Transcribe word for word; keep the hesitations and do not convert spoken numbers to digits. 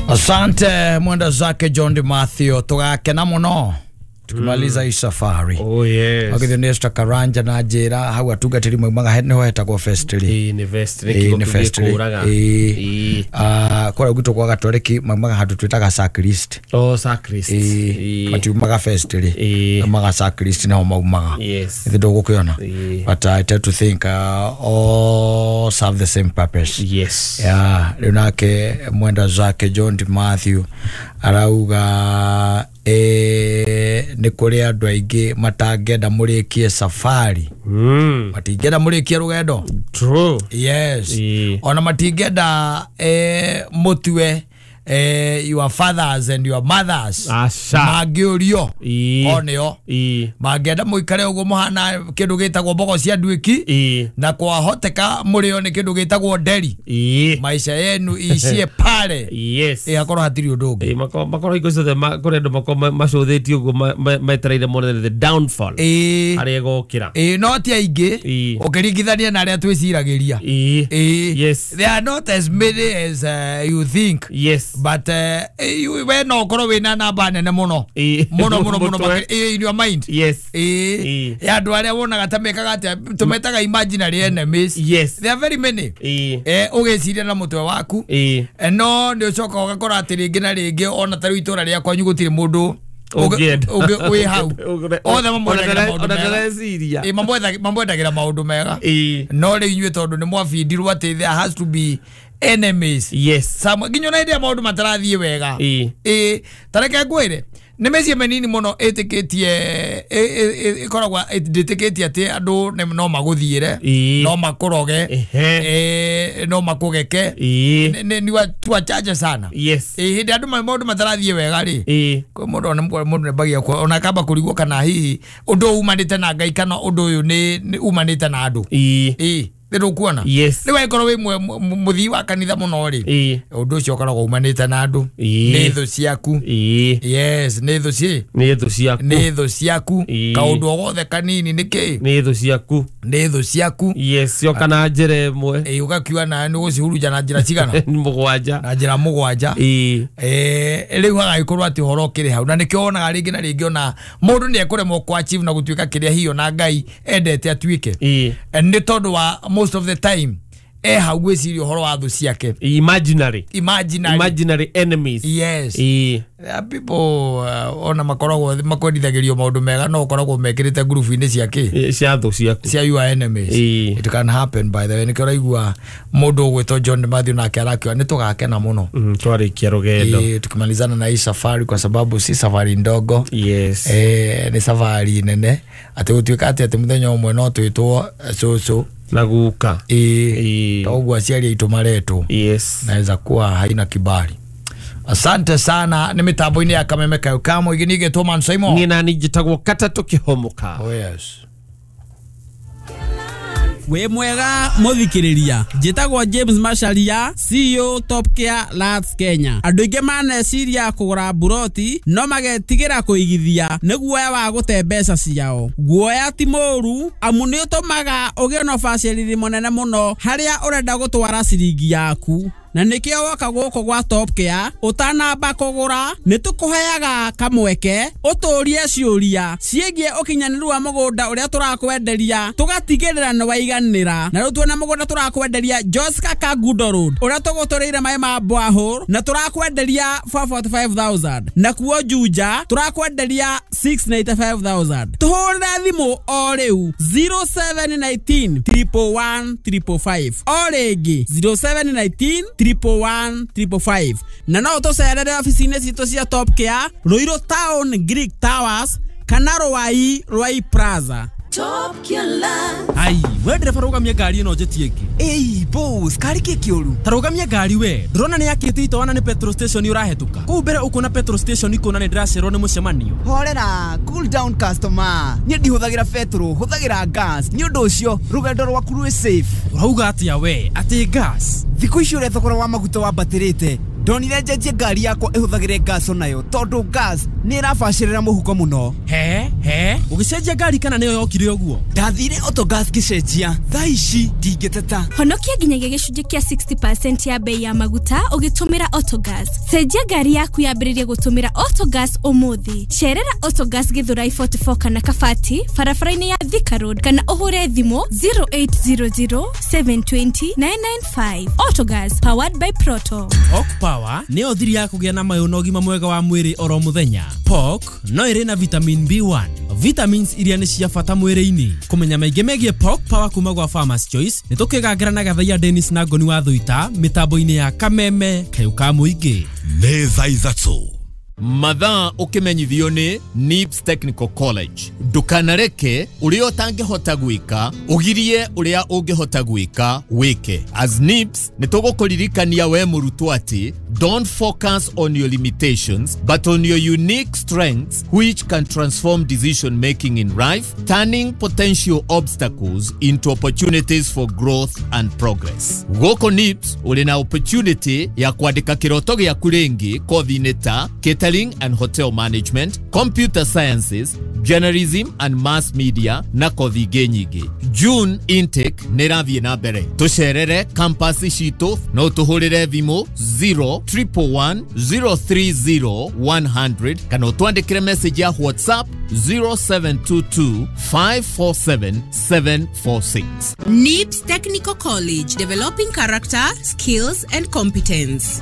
Asante mwenda zake John de Mathew, tugakena muno tukimaliza hii safari. Oh yes. Agithio ni Esther Karanja na njira hau atungatiri maumaga niho hetagwo festri. Ĩĩ nĩ vestry kiugo kĩngĩkũraga. Ĩĩ. Ah, kũrĩa gwitũ kwa Gatoreki maumaga handũ twĩtaga sacrist. Oh, sacrist. Ĩĩ. Matiumaga festri. Ĩĩ. Maumaga sacrist niho maumaga. Yes. Ithe ndũgũkĩona. Ĩĩ. But I tend to think uh, all serve the same purpose. Yes. Yeah, rĩu nake mwenda zake John de Mathew arauga eh nĩ kũrĩ andũ aingĩ matangĩenda mũrĩkie safari. Mm. Matingĩenda mũrĩkie rũgendo. True. Yes. Ĩĩ. Ona matingĩenda eh mũtue eh your fathers and your mothers. Aca. Mangĩũrio. Ĩĩ. Onĩo. Ĩĩ. Mangĩenda mũikare ũguo mũhana kĩndũ gĩtagwo mbogo cia nduĩki. Ĩĩ. Na kwahoteka mũrĩo nĩ kĩndũ gĩtagwo nderi. Ĩĩ. Maisha yenu icie pale. Yes. Ĩ hakorwo hatirĩ ũndũ ũngĩ. Ĩĩ makorwo makorwo hingo ciothe kũrĩ andũ makorwo macũthĩtie ũguo metereire mone the downfall. Ĩĩ. Harĩa ĩgokĩra. Ĩĩ no ti aingĩ. Ĩĩ. Ũkĩringithania na arĩa twĩciragĩria. Ĩĩ. Ĩĩ. Yes. They are not as many as uh, you think. Yes. But uh, we no ũkorwo wĩna namba nene mũno. Ĩĩ. Mũno mũno mũno Mũtwe. makĩria in your mind. Yes. Ĩĩ. Ĩĩ. Ya andũ arĩa wonaga ta mekaga atĩa tũmetaga imaginary enemies. Yes. There are very many. Ĩĩ. Eh ũgĩciria na mũtwe waku. Ĩĩ. Eh, no nĩ ũcoka ũgakora atĩ rĩngĩ na rĩngĩ ona ta rĩu itũra rĩa kwanyu gũtirĩ mũndũ Ũngĩenda. ũngĩ wĩ hau. Othe mamwendagĩra maũndũ Ona mega. ndareciria. Ĩ mamwetha- mamwendagĩra maũndũ mega. Ĩĩ. No rĩu inyuĩ tondũ nĩ mwabindirwo atĩ there has to be enemies. Yes. Some nginya ona hĩndĩ ĩrĩa maũndũ matarathiĩ wega. Ĩĩ. Ĩ ta reke ngwĩre nĩ mĩciĩ mĩnini mũno ĩtĩkĩtie ĩkoragwo ndĩtĩkĩtie atĩ andũ nĩ- no magũthiĩre, Ĩĩ. no makũroge, Ehe. eh, no makũgeke. Ĩĩ. Nĩ- nĩ- ni watu wachache sana. Yes. Ĩ hĩndĩ andũ ma- maũndũ matarathiĩ wega rĩ, Ĩĩ. kwĩ mũndũ ona mũndũ nĩambagia kuo ona akamba kũrigwo kana hihi ũndũ ũyũ umanĩte na Ngai kana ũndũ ũyũ nĩ nĩ umanĩte na andũ. Ĩĩ. Ĩ nĩ ndũkuona. Yes. Rĩu angĩkorwo wĩ mwe- mũ- mũthii wa kanitha mũno rĩ, Ĩĩ. ũndũ ũcio ũkoragwo umanĩte na andũ. Ĩĩ. Nĩ thũ ciaku. Ĩĩ. Yes, nĩ thũ ci Nĩ thũ ciaku. nĩ thũ ciaku. Ĩĩ. Kaũndũ o gothe kanini nĩ kĩ Nĩ thũ ciaku. nĩ thũ ciaku. Yes, cioka na njĩra ĩmwe. Ĩ ũgakiuga nawe nĩ ũgũcihurunja na njĩra cigana? Mũgwanja. Na njĩra mũgwanja. Ĩĩ. Eh, rĩu hagagĩkorwo atĩ ũhoro ũkĩrĩ hau na nĩkĩo wonaga rĩngĩ na rĩngĩ ona mũndũ nĩ ekũremwo kũ achieve na gũtuĩka kĩrĩa hihi ona Ngai endete atuĩke. Ĩĩ. Eh, nĩ tondũ wa most of the time e hau gwĩciria ũhoro wa thũ ciake. Imaginary. Imaginary. Imaginary enemies. Yes. Ĩĩ. There are people uh, ona makoragwo makwendithagĩrio maũndũ mega no ũkoragwo mekĩrĩte ngurubu-inĩ cia kĩ Ĩĩ, cia thũ ciaku. cia your enemies. Ĩĩ. It can happen by the way. Nĩkĩo ũraigua mũndũ ũgwĩtwo John Mathew nake arakiuga nĩ tũgakena mũno. Mm, twarĩkia rũgendo. Ĩĩ, tukimalizana na hii safari kwa sababu si safari ndogo. Yes. Eh, nĩ safari nene atĩ gũtuĩka atĩ atĩ mũthenya ũmwe no twĩtwo eh, cũcũ. Na guka. Ĩĩ. Ĩĩ. Toguo aciari aitũ maretwo. Yes. Naweza kuwa haina kibali. Asante sana nĩ mĩtambo-inĩ ya Kameme Kayo Kamo igi nĩgetwo Man Simon. Niĩ nani njĩtagwo Katatũ Kĩhomoka. Oh yes. Wĩ mwega mũthikĩrĩria, njĩtagwo James Macharia, C E O Top Care Lands Kenya. Andũ aingĩ maneciria kũgũra mburoti no magetigĩra kũigithia nĩ guoya wa gũte mbeca ciao. Guoya ti mũũru amu nĩ ũtũmaga ũgĩe na ũbacĩrĩri mũnene mũno harĩa ũrenda gũtwara ciringi yaku. Na nĩkĩo woka gũkũ gwa Top Care ũtanamba kũgũra nĩ tũkũheaga kamweke ũtũrie ciũria ciĩgiĩ ũkinyanĩru wa mũgũnda ũrĩa tũrakwenderia tũgatigĩrĩra nĩ waiganĩra. Na rĩu tuona mũgũnda tũrakwenderia Joska Kangundo Road ũrĩa tũgũtũrĩire maĩ ma borehole na tũrakwenderia four forty-five thousand, na kuo Juja tũrakwenderia six ninety-five thousand. Tũhũrĩre thimũ o rĩu zero seven nineteen triple one triple five, o rĩngĩ zero seven nineteen triple one triple five. Na no ũtũcerere obici-inĩ citũ cia Top Care Ruiru Town Greek Towers kana Ruai Ruai Plaza. Top Care. Ai, we ndereba rũgamia ngari ĩno njĩtie ĩngĩ. Ĩi, boss, kari kĩ kĩũru? Ta rũgamia ngari we. Ndĩrona nĩ yakĩte itoana nĩ petrol station ũrahĩtũka. Kũu mbere ũkuona petrol station ikuona nĩ ndĩracererwo nĩ mũcemanio. Horera, cool down customer. Niĩ ndihũthagĩra petrol, hũthagĩra gas. Nĩ ũndũ ũcio rũgendo rwaku rwĩ safe. Ũrauga atĩa we? Atĩ gas? Thikũ ici ũrĩa thogora wa maguta wambatĩrĩte, Ndonire njenjie ngari yakwa ĩhũthagĩre gas onayo tondũ gas nĩ ĩrabacĩrĩra mũhuko mũno. He he, ũgĩcenjia ngari kana nĩyo yokire ũguo? Ndathire Autogas ngĩcenjia, thaa ici ndingĩteta. Honokia nginyagia gĩcunjĩ kĩa sixty percent ya bei ya maguta ũgĩtũmĩra Autogas. Cenjia ngari yaku yambĩrĩrie gũtũmĩra Autogas ũmũthĩ. Cerera Autogas Githurai forty-four kana Kabati barabara-inĩ ya Thika Road kana ũhũre thimũ zero eight zero zero seven two zero nine nine five. Autogas powered by Proto. Pork Power nĩyo thiri ya kũgĩa na mayũ na ũgima mwega wa mwĩrĩ oro mũthenya. Pork no ĩrĩ na vitamin B one, vitamins iria nĩ cia bata mwĩrĩ-inĩ. Kũmenya maingĩ megiĩ Pork Power kuma gwa Farmers Choice nĩ tũkĩgangĩra na Gathaia Dennis na Ngoni wa Thuita mĩtambo-inĩ ya Kameme kayũ ka mũingĩ. Nĩ thaa ithatũ mathaa ũkĩmenyithio nĩ Nibs Technical College. Ndũkanareke ũrĩa ũtangĩhota gwĩka ũgirie ũrĩa ũngĩhota gwĩka wĩke. As Nibs nĩ tũgũkũririkania we mũrutwo atĩ don't focus on your limitations but on your unique strengths which can transform decision making in life, turning potential obstacles into opportunities for growth and progress. Gũkũ Nibs ũrĩ na opportunity ya kwandĩka kĩroto gĩaku rĩngĩ kothi-inĩ ta catering and hotel management, computer sciences, journalism and mass media na kothi ingĩ nyingĩ. June intake nĩ ĩrathiĩ na mbere. Tũcerere campus citũ no tũhũrĩre thimũ zero triple one zero three zero one hundred kana ũtwandĩkĩre message ya WhatsApp zero seven two two five four seven seven four six. Nibs Technical College, developing character, skills and competence.